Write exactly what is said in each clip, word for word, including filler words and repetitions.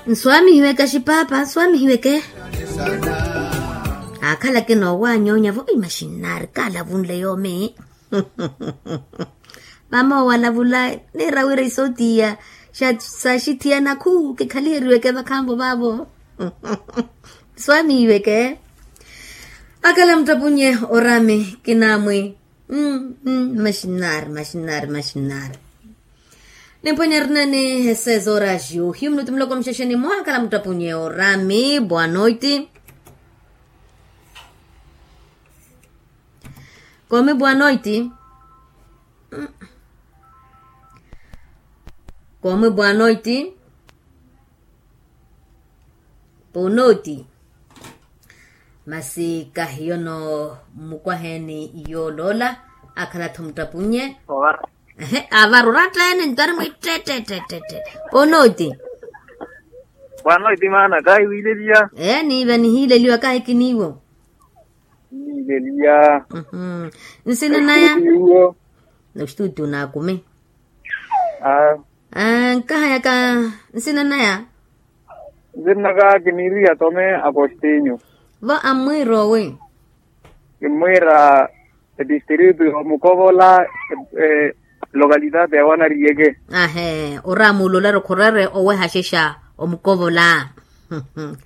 Nswaamihiweke axipaapa nswaamihiweke. Aakhalake noowanyoonya vo imaxinnaari kaalavunle yoomi. Mama owalavula niira wira isootiya saxithiya nakhu kikhaliheriweke vakhanvo vaavo. Nswaamihiweke. Akhala muttepunye oraami kinaamwi. Maxinnaari maxinnaari maxinnaari. Nimpwene erineni esezora xiu hiyu minutu muloko muxexeni mwaakhala muttapunye oraami boa noiti. Kome boa noiti. Kome boa noiti. Ponooti. Masi kahiyono mukwaheeni yooloola akhala-tho muttapunye. Ehe avarura tteene ntari mwittette. Ponooti. Bwanooti maana kahiwiileliya. Ee niiva nihiileliwa kahikiniiwo. Nihiileliya. Nsina naya. Noxituutiyo naakumi. Nkahayaka nsina naya. Nsinnaka kiniiriha tome. Apostinyo. Vo ammwiira owi. Kimmwiira etistritu ya omukovola. Lokalitaati ya wanariyeke. Ahe oramuula olari okhoreere owehaxexa omukovola.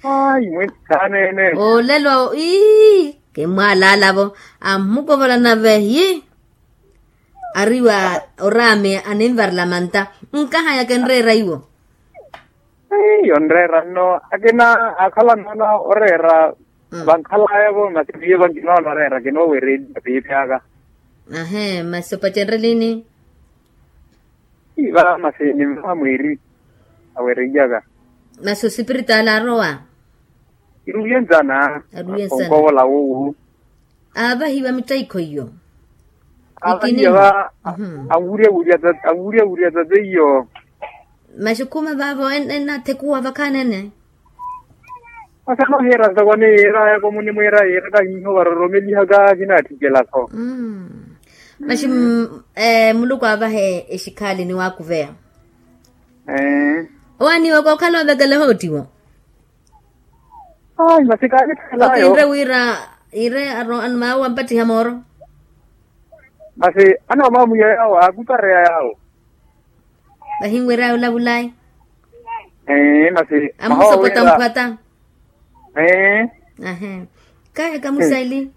Ayi mwe. Thaneene. Olelo ii. Kimmwaalaalavo amukovola nave yi. Ariwa oraame aninvarela manta. Nkahayaka enreera iwo. Yonreera nno akina akhala noona oreera. Vankhalaya-vo masi miyo vankinoona oreera kinoowereeliwa piipi aka. Ahe masi opacenrelini. Iva masi nimvaha mwiiri. Awereiyaka. Masi osipiritaali aarowa. Iruwiye nzana. Aruwiye nzana. Onkovola wuwu. Aavahiwa mittaikho iyo. Aavahiwa. Anwurya wurya tate iyo. Maxi khuma vaavo ennathekuwa vakhanene. Masi anohiira ntoko ni yiirayaka omunimwiira yiira kahiiho varoromelihaka kinaatthikela-tho. Maxi muluku aavahe exikhaali niwaakuveya. Owaaniwe kookhala ovekela hoottiwo. Ayi masi kaanitthelayo. Okiinre wira yiire. Maawe wampattiha mooro. Masi anoomamwiya yawo aakupareya yawo. Vahinweraya olavulayi. Masi amusopota mphwata. Ahe. Kaye kamusaili.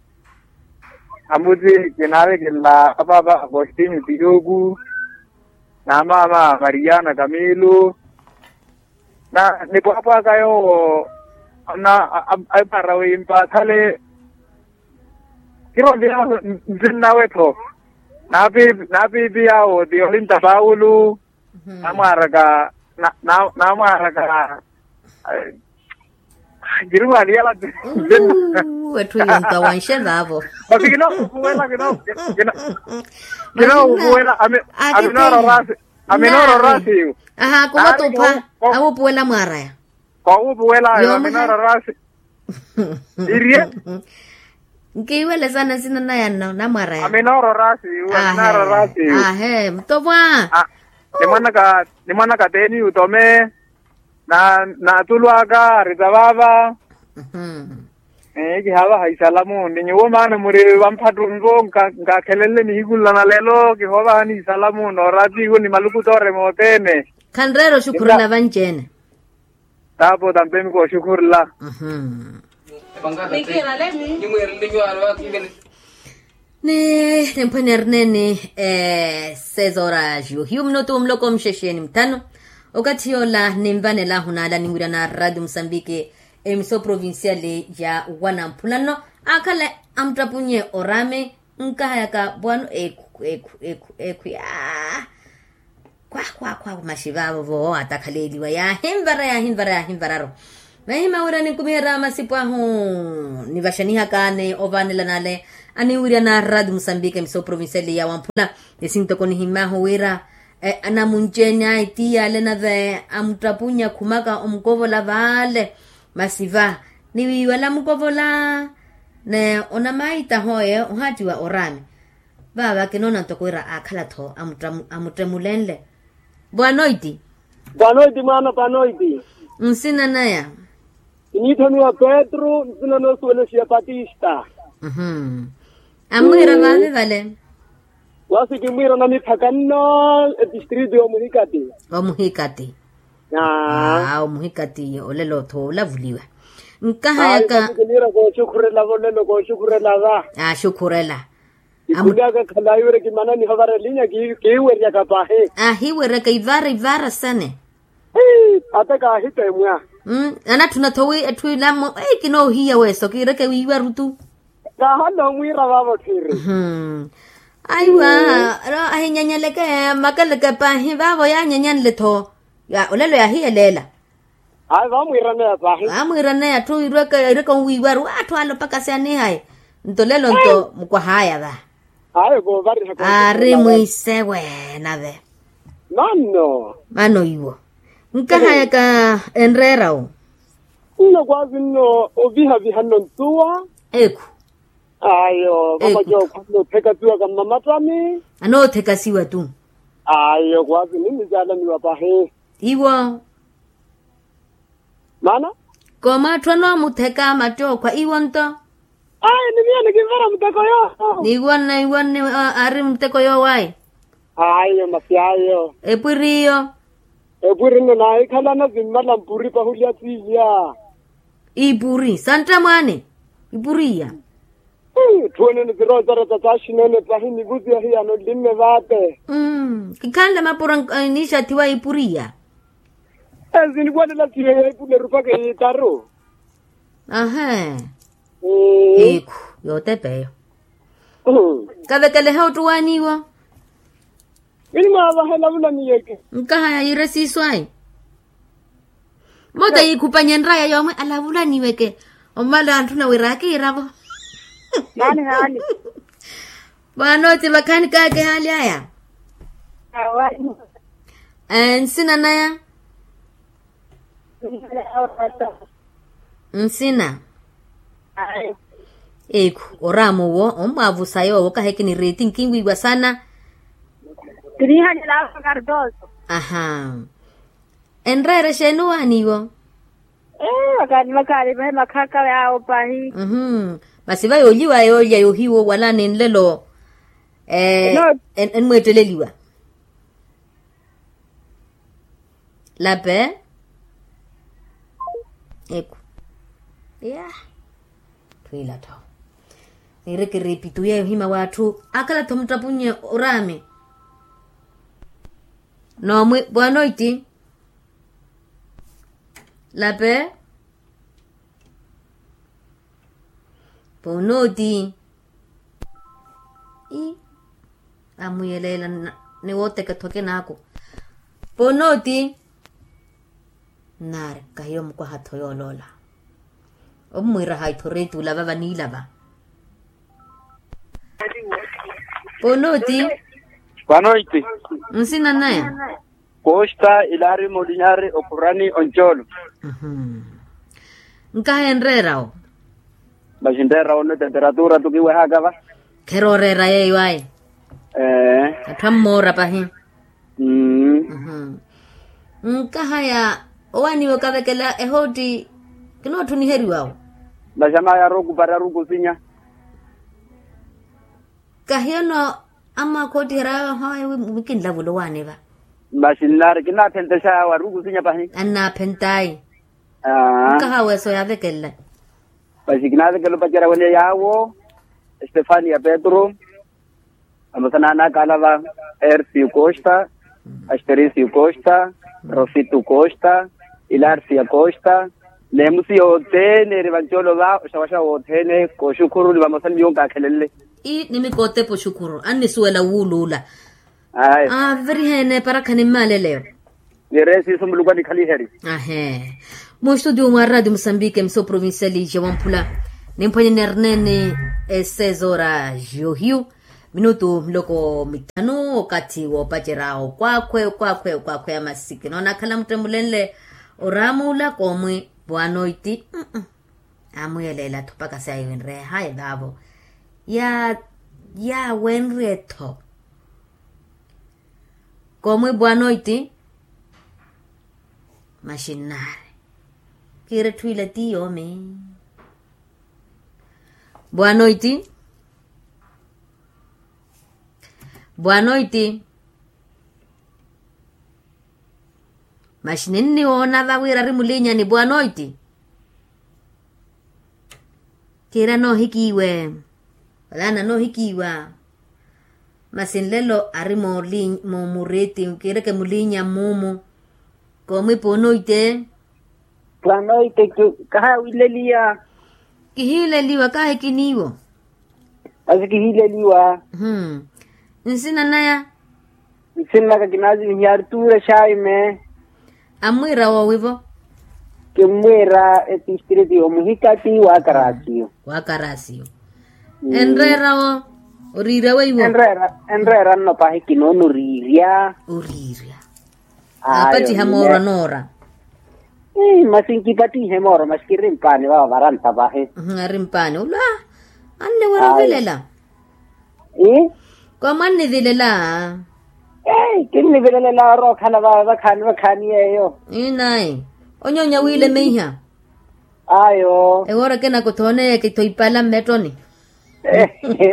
Amuti kinaavekela apaapa apostini tiyuku. Na maama mariana kamilu. Na nipwaapwaaka yoowo. Na aipara wiimpathale. Kiroonti yaawo nzinnawe-tho. Naapiipi yaawo ti olinta paulo. Namwaaraka. Namwaaraka. Kiri mwaaniyala. Etthu iyo nto wanxe vaavo. Masi kinookupuwela. Kinookupuwela. Aminoororasi. Aminoororasi. Aha kuvotupa. Awupuwela mwaaraya. Kowupuwela ayo aminoororasi. Iriye. Nkiiwele sana nsina naya nno namwaraya. Aminoororasi. Aminoororasi. Ahe mutopwa. Ni mwanaka teeni utome. Na natulwaka arita vaava. Kihaavaha isalamu ni nyuwo maana muri vamphattu nvo. Nkakhelenle nihiku nla na lelo kihoovahani isalamu nooraatihu ni maluku toorema othene. Khanreera oxukhurela vanci-ene. Taapo tampemi kooxukhurela. Ni nimphwene erineni seis horas yohiyu minutu muloko muxexeni muthanu. Okathi yoola ninvanelahu naala ninwirya na radio musambiki. Emiso provincial ya wanamphula nno akhale amuttapunye oraame. Nkahayaka vwano ekhu ekhu ekhu ekhu ekhu yaa. Khwa khwa khwa maxivaavo voowatakhaleliwa yaahinvara yaahinvara yaahinvararu. Nahima wira ninkumiherya masipu ahu nivaxanihaka ni ovanela nale. Aniwirya na radio musambika emiso provincial ya wamphula. Esintoko nihimahu wira anamunci-ene ayi ti yale nave amuttapunya khumaka omukovola vale. Masi va ni wala mukovola ni onamaitahoye ohaatiwa oraame. Vaava kinoona ntoko wira aakhala-tho amuttemulenle. Boa noiti. Boa noiti mwaana boa noiti. Nsina naya? Kiniithamiwa petru, nsina noosuwela xiya patista. Amwiira vaavi vale? Wasi kimwiira namiphaka nno, etistritu y'omuhikati. Omuhikati. Aa omuhikati olelo-tho olavuliwa. Nkahayaka. Kiniira kooxukhurelava olelo kooxukhurelava. Axukhurela. Kikhulyaka khalayi wira kimana nihovara elinya kiiweryaka pahi. Ahiweryaka ivara ivara sene. Ata kaahita emwa. Anatthuna-tho wi etthu ilamo ei kinoohiya weso kiireke wiiwaru tu. Kaahalla omwiira vaavo tthiri. Aiwa. Ahinyanyaleke makeleke pahi vaavo yaanyanyanle-tho. Olelo yaahiyeleela. Ayi vaamwiiraneya pahi. Vaamwiiraneya atthu irweke irweke onwiiwaru atthu alopaka siyanihayi. Nto lelo nto mukwahaya va. Ayi koovariha. Aari mwiisewe nave. Manno. Mano iwo. Nkahayaka enreera wo. Nno kwaasi nno ovihaviha nno ntuwa. Ekhu. Ayo vamacookho anoothekasiwaka mmamattani. Anoothekasiwa tu. Ayo kwaasi ninnizaalaniwa pahi. Iwo. Maana. Kooma atthu anoomutheka mattookhwa iwo nto. Ayi ni miyo nikinvera muteko yoowo. Niwonne iwonne aari muteko yoowo ayi. Ayo masi ayo. Epwiri iyo. Epwiri nno naahikhalana vimmala mpuri pahulya siiya. Ipuri santta mwaani. Ipuri iya. Etthu ene ni virozarata saaxinene pahi nivusi yahiyano nlimme vaate. Kikhanle mapuro. Niixathiwa ipuriya. Esi niwanela siyo ya ipula erupaka eyiitaru. Ahe. Ikhu yootepa eyo. Kavekelehe ottuwaani iwo. Kini mwaavahela vulaniyeke. Nkahaya yiire siiso ayi. Moota yiikhupanye nraya yoomwe alavulaniweke. Omala antthuna wira akiiravo. Naani haali. Bwaanoti vakhaani kaake haali aya. Nsina naya. Nsina. Ekhu oraama owo ommwaavusa yoowo kahi ekinireeti nkinwiiwa sana. Kiniihanyela ava kartoso. Aha. Enreera exeeni owaani iwo. Ee vakaani vakaani vahe makhaka yaawo pahi. Masi va yooliwa yoolya yohiwo wala ni nlelo. Enmweetteleliwa. Lape. Eku. Ya. Thwiila-tho. Niireke reepituya yohima w'atthu akhala-tho muttapunnye oraami. Noomwi bwanoiti. Lape. Ponooti. Ii. Amuyeleela ni wooteke-tho akinaaku. Ponooti. Nnaari kahiyo mukwaha-tho yooloola. Ommwiira hayi-tho reeti olava vaniilava. Ponooti. Vanoiti. Nsina naya. Kosta ilaari molinyari okhurani oncoolo. Nkaha enreera wo. Masi nreera wo nno temperatura tukiwehaka va. Kherooreera yeeyo ayi. Ee. Atthu ammoora pahi. Nkaha ya owaaniwe okavekela ehootti. Kinootthuniheriwa wo. Masi amaya aari okupari aari okusinya. Kahiyo nno. Amwaakhoottiherya yaawe hawaye wi kinlavula owaani va. Masi nnaari kinaaphentexaya aari okusinya pahi. Annaaphentaayi. Nkaha aweso yaavekelela. Masi kinaavekela opacerya wene yaawo. Estefania petru. Vamosa n'anaka ala va ercio costa, astericio costa, rosito costa, ilarcia costa. N'emusi yothene eri vancoolo va oxawaxa wothene kooxukhuru ni vamosa ni miyo nkaakhelenle. Ii ni mikootepa oxukhuru annisuwela wuuluula. Aaveriheene eparakhani mmaaleleyo. Niire siiso muluku anikhaliherye. Ahee. Mustudio mwa radio musambike mso provinciali ja wamphula. Nimphwanye nerneene esezora johiyu minutu miloko mithanu okathi woopacerya okwaakhwe okwaakhwe okwaakhwe ya masiki noona akhala muttemulenle. Oramuula koomwi bwanoiti. Amuyeleela-tho mpaka sayi winreya hayi vaavo. Yaawenrye-tho. Koomwi bwanoiti. Maxinnaari. Kiiretthu ila ti yoomi. Bwanoiti. Bwanoiti. Maxi ninniwoona va wira ari mulinyani bwanoiti. Kiira noohikiiwe. Wala ananoohikiiwa. Masi nlelo ari mooli- moomuriiti kiireke mulinya mmuumu. Koomwipa onoite. Pwanoite. Kahaawileliya. Kihiileliwa kaahikiniiwo. Masi kihiileliwa. Nsina naya. Nsinaka kinaazimihiya artura xaime. Ammwiira woowivo. Kimmwiira etistriti omuhikati wa karasiyo. Wa karasiyo. Enreera wo. Oriirya weiwo. Enreera nno pahi kinoona oriirya. Oriirya. Aapattiha moora noora. Masi nkipattihe moora masi kiri mpaani vava varantta pahi. Ari mpaani ula. Anniwira ovilela. Ii. Kwa mwannivilela. Ei kinnivilelela orookhala vava vakhaani vakhaani yeeyo. Ii nayi. Onyoonya wiilemeiha. Ayo. Ewoora kenaka othooneya kitho ipala mmettoni.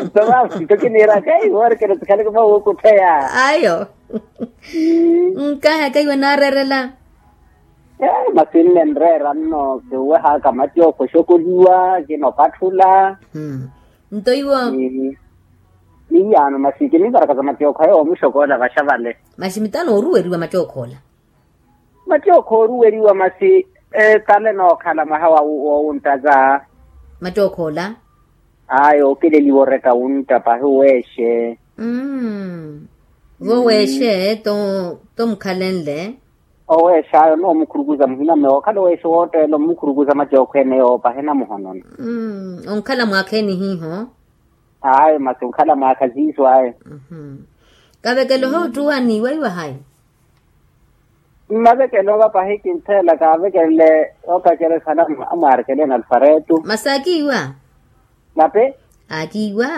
Nto vava nto kiniiraka ei woora kena sikhaleke mawuukutheya. Ayo. Nkahaka iwe naareerela. Masi nnenreera nno kiwehaka matyookho oxokoliwa kinopatthula. Nto iwo. Miyaano masi kinivaraka za matyookho ayo omuxokoola vaxa vale. Masi mitano ooruweriwa matyookho ola. Matyookho ooruweriwa masi etale nookhala mwaha wowunttaza. Matyookho ola. Ayo okeleliwa oreka wuntta pahi oweexe. Vo weexe to mukhalenle. Oweexa ayo noomukhurukuza muhina meyo okhala oweexe wootteela omukhurukuza matyookho ene yoopa hena muhonona. Onkhala mwaakha eni hiiho. Ayo masi onkhala mwaakha siiso ayo. Kavekelo hoottuwa niiwaiwa hayi. Mmavekelo va pahi kintheela kaavekelele oopacerya sana. Amwaarekeleni alfaretu masi aakiiwa. Nape. Aakiiwa.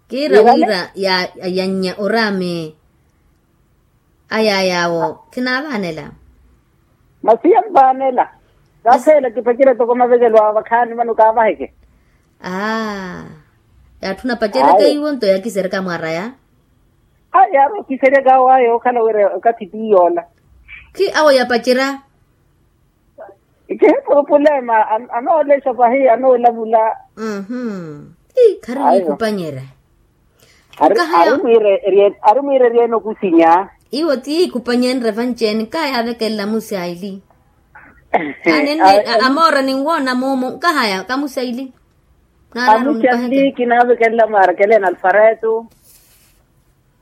Kiira wira yannya oraame. Aya yaawo khinaavaanela. Masi yamvaanela. Katheela kipacere toko mavekelo awo vakhaani vano kaavaheke. Aa. Yaatthuna pacereke iwo nto yakisereka mwaraya. Aa yaari okiseryaka awo aya okhala wira okathi ti yoola. Khi awo yapacerya. Kihi purupulema. Anoolexa pahi anoolavula. Ii khari wiikupanyerya. Ari mwiire eryene okusinya. Iwo ti kupanyenre vanci-ene kaaya avekelela musi aili. Amoora ninwoona moomo nkahaya kamusi aili. Amusi aili kinaavekelela mwarekeleni alfaretu.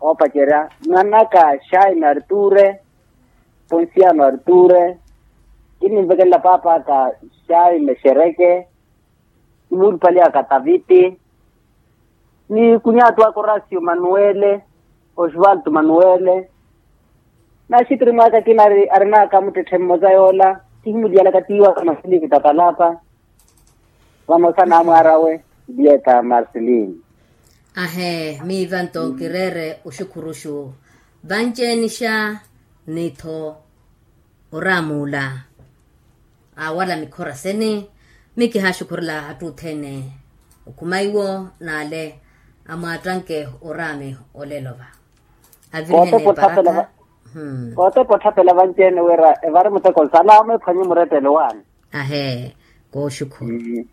Oopacerya mwanaka xaime arture. Ponsiano arture. Kininvekelela paapaka xaime xereke. Kimuulupaliyaka taviti. Ni kunyatu aka orasio manuwele. Osvalto manuwele. Naxitiri mwaaka akina arinaka muttetthe mmosa yoola. Kihimuliyalaka tiiwaka masiliki tapalapa. Vamosa n'amwaar'awe. Dieta marcelin. Ahee miiva nto kireere oxukhuruxu. Vanci-enixa ni-tho. Oraam'ula. Awala mikhora sene. Mi kihaaxukhurela atthu othene. Okhuma iwo n'ale amwaattanke oraame olelo va. Avirihene eparaka. Kootepa otthapela vanci-ene wira evari muteko nsalama ephwanye murettelo waani. Ahee. Kooxukhuru.